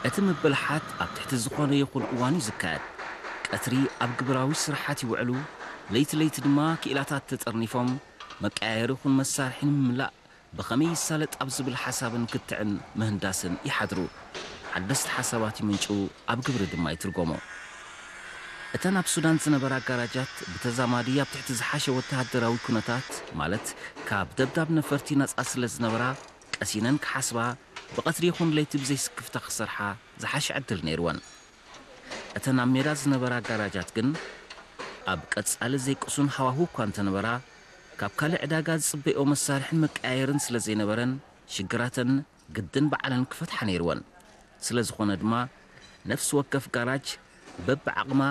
እቲ ምብልሓት ኣብ ትሕቲ ዝኾነ ይኹን እዋን እዩ ዝካየድ። ቀትሪ ኣብ ግብራዊ ስራሓት ይውዕሉ፣ ለይቲ ለይቲ ድማ ክኢላታት ተጠርኒፎም መቀያየሪ ይኹን መሳርሒ ንምምላእ ብኸመይ ይሳለጥ ኣብ ዝብል ሓሳብን ክትዕን ምህንዳስን ይሓድሩ። ሓደስቲ ሓሳባት ይምንጭው፣ ኣብ ግብሪ ድማ ይትርጎሞ። እተን ኣብ ሱዳን ዝነበራ ጋራጃት ብተዛማዲ ኣብ ትሕቲ ዝሓሸ ወተሃደራዊ ኩነታት፣ ማለት ካብ ደብዳብ ነፈርቲ ነጻ ስለ ዝነበራ፣ ቀሲነን ክሓስባ፣ ብቐትሪ ይኹን ለይቲ ብዘይስክፍታ ክሰርሓ ዝሓሸ ዕድል ነይርወን። እተን ኣብ ሜዳ ዝነበራ ጋራጃት ግን ኣብ ቀጻሊ ዘይቅሱን ሃዋሁ እኳ እንተነበራ፣ ካብ ካልእ ዕዳጋ ዝጽበይኦ መሳርሕን መቀያየርን ስለ ዘይነበረን፣ ሽግራተን ግድን ባዕለን ክፈትሓ ነይርወን። ስለ ዝኾነ ድማ ነፍሲ ወከፍ ጋራጅ በብዓቕማ